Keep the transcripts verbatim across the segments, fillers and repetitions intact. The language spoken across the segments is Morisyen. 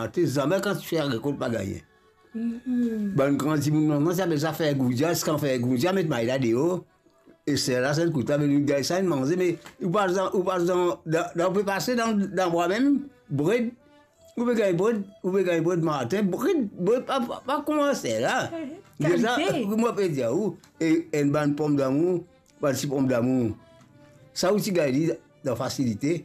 ate, zame kan ti fer rekolt pa gagne. Bann gran dimoun, non, non, ti apel sa fer goudia, kan fer goudia, met may la deor. E ser la, sa enn kout la, me nou gagn sa, nou manze, me ou pas dan, ou pas dan, dan, dan, ou pe pase dan, dan bwa mem, bred, ou pe gagn bred, ou pe gagn bred martin, bred, bred, pa, pa, pa kouma ser la. Kalite. Deza, mo pe dir ou, e enn bann pomdamour, bann ti pomdamour. Sa ou ti gagn li dan fasilite,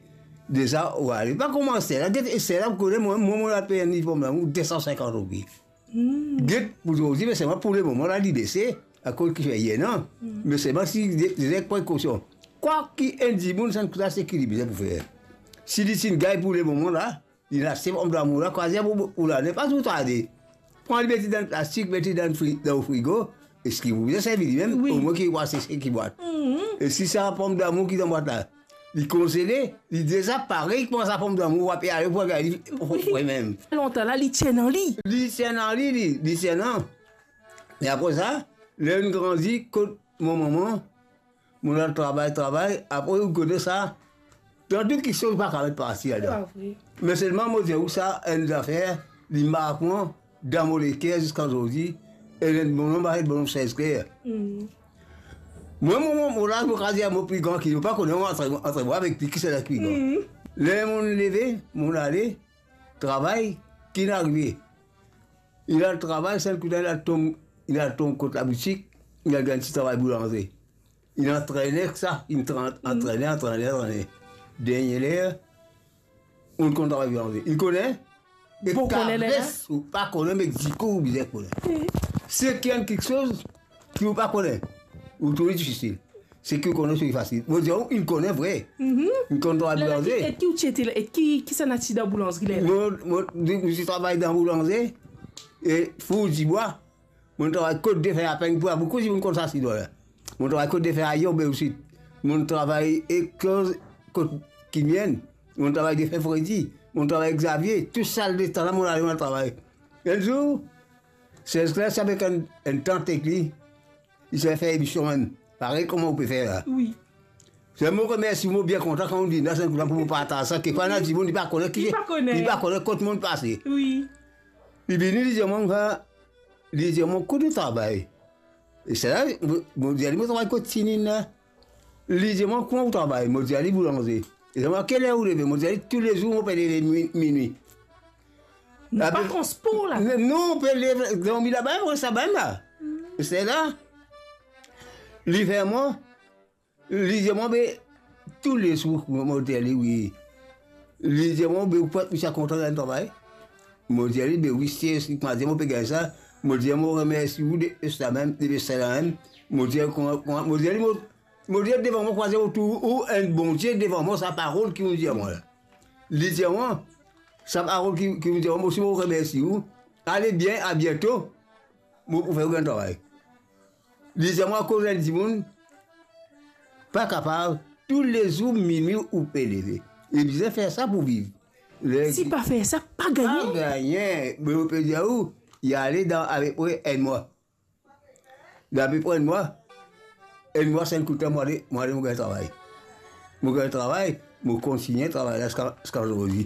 deza ou ale. Pa kouma ser la, get, e ser la, ou kone, mwa, mwa, mo la pey enn liv pomdamour de san sinkant roupi. Get, pou zordi, me selman pou lemoman la, li bese, akoz ki fer ena, me selman si de, de, prekosion. Kwa ki enn dimoun, sa enn kout la, seki li bizin pou fer. Si li ti gagn pou lemoman la, li aste pomdamour la, kwa dir pou, pou lane, pa tou tarde. Pran li, met li dan plastik, met li dan fri-, dan frigo, eski ou bizin servi li mem, wi, omwin ki ou aste seki bwat. E si sa pomdamour ki dan bwat la, li konzele, li deza pare, kouma sa pomdamour, ou pe ale pou gagn li, wi, fre mem. Lontan la, li ti ena li. Li ti ena li, li, li ti ena. E apre sa, ler nou grandi, kot mo mama, mo al travay, travay, apre ou kone sa, dan tou kiksoz pa kapav parti ladan. Pa vre. Me selman mo dir ou sa, enn zafer, li mark mwa dan mo leker ziska zordi, e enn bonnom, apel bonnom Serge Claire. Mwa, mo, mo, mo la, mo kapav dir mo pli gran ki li, mo pa kone, mo antre, antre mwa avek li, kisannla ki pli gran. Ler mo leve, mo ale travay, ki inn arive? Li al travay, sa enn kout la, li al tom, li al tom kot laboutik, li al gagn ti travay boulanzri. Li antrene ek sa, li tra-, antrene, antrene, antrene. Dernie ler, ou konn travay boulanzri. Li kone? Ou pa kone ler la? Ou pa kone, me dikou ou bizin kone. Seki enn kiksoz ki ou pa kone, ou trouv li difisil. Seki ou kone, seki fasil. Mo dir ou, li kone vre. Li konn travay boulanzri. Ler la, ki, e ki ou ti ete la? E ki, kisannla ti dan boulanzri ler la? Mo, mo, mo ti travay dan boulanzri, e four dibwa. Mo travay kot defer a pegn pou boukou dimoun konn sa sinois la. Mo travay kot defer a Yob osi. Mo travay ek, kot Kimienn. Mo travay defer Fredi. Mo travay ek Xavier. Tou sa letan la, mo ale, mo travay. Enn zour, Serge Claire ti avek enn, enn tant ek li. Li ti fer emision mem. Parey kouma ou pe fer la. Wi. Se mo remersi, mo bien kontan kan ou vinn la, se kouma pou mo partaz sa. Kekfwa ena dimoun, li pa kone ki, li pa kone, li pa kone kot mo pase. Wi. Li vini, li dir mwa, li dir mwa, kot ou travay? E sa la, mo, mo dir li, mo travay kot Tinine la. Li dir mwa, kouma ou travay? Mo dir li, boulanzri. Li dir mwa, kel er ou leve? Mo dir li, toulezour, mo pe leve mi-, minwi. Napa transpor la? Non, non, ou pe leve, dormi laba, ou res laba la. Se la, li fer mwa, li dir mwa, be, toulezour, mo dir li, wi. Li dir mwa, be, ou pa, ou ti a kontan gagn travay? Mo dir li, be, wi, si, si, mo dir, mo pe gagn sa. Mo dir, mo remersi ou de, de sa mem, de, de sa la mem. Mo dir, kouma, kouma, mo dir li, mo, mo dir devan mwa, kouma dir, ou tou, ou enn Bondie devan mwa, sa parol ki ou dir mwa la. Li dir mwa, sa parol ki, ki ou dir mwa, mo osi mo remersi ou. Ale bien, a biento. Mo pou fer ou gagn travay. Li dir mwa, akoz enn dimoun pa kapav, toulezour minwi ou pe leve. Li bizin fer sa pou viv. Ler si pa fer sa, pa gagne. Pa gagne. Me mo pe dir ou, li ale dan apepre enn mwa. Dan apepre enn mwa, enn mwa, sa enn kout la, mo ale, mo ale, mo gagn travay. Mo gagn travay, mo kontigne travay la ziska, ziska zordi.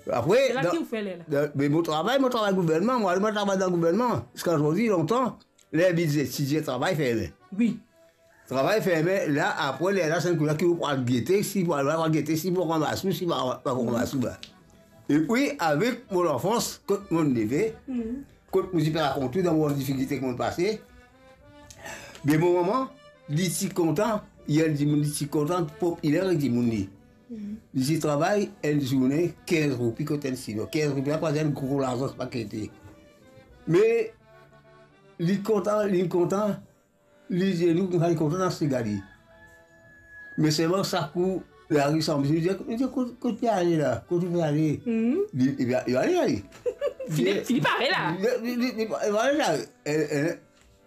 Apre, se la dan, ki ou fer ler la? Dan, me mo travay, mo travay gouvernman, mo ale, mo travay dan gouvernman. Ziska zordi, lontan, ler bize, ti dir travay ferme. Wi. Travay ferme, la, apre, ler la, se enn kout la ki ou pou al gete, si pou al, al gete, si pou ranmas ou, si pa, pa pou ranmas ou la. Epi, avek mo lanfans, kot mo leve, kot mo ti pe rakont ou dan mo difikilte ki mo pase, be mo mama, li ti kontan, li enn dimoun, li ti kontan, popiler ek dimoun li. Li ti travay enn zourne kinz roupi kot enn sino. Kinz roupi la, pa enn gro larzan, pa kete. Me li kontan, li kontan, li dir nou, nou al kontan dan sega li. Me selman sa kou lari sanble, li dir, li dir, kot, kot li ale la? Kot li pe ale? Li, li, li ale, ale. Fini, fini pare la. Li, li, li, li, li ale la. Eh, eh,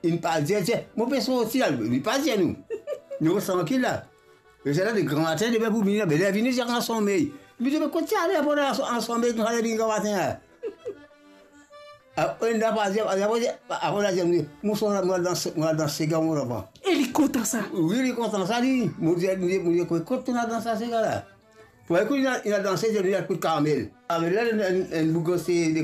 li pa dir, dir, mo pe sorti la, li pa dir nou. Nou res trankil la. E se la, de gramatin, depi pou vini la, be ler vini, dir, ansanm. Li dir, me kot ti ale apre la, ansanm, nou ale vini gramatin la. Apre, nou pa dir, apre, apre, nou dir, mo sot la, mo al dan, mo al dan sega, mo lavan. E li kontan sa? Wi, li kontan sa, li. Mo dir, mo dir, mo dir, kot, kot nou al dan sa sega la? Pou ekout, li al, li al danse, li al kot Carmel. Carmel la, enn, enn, enn boug, se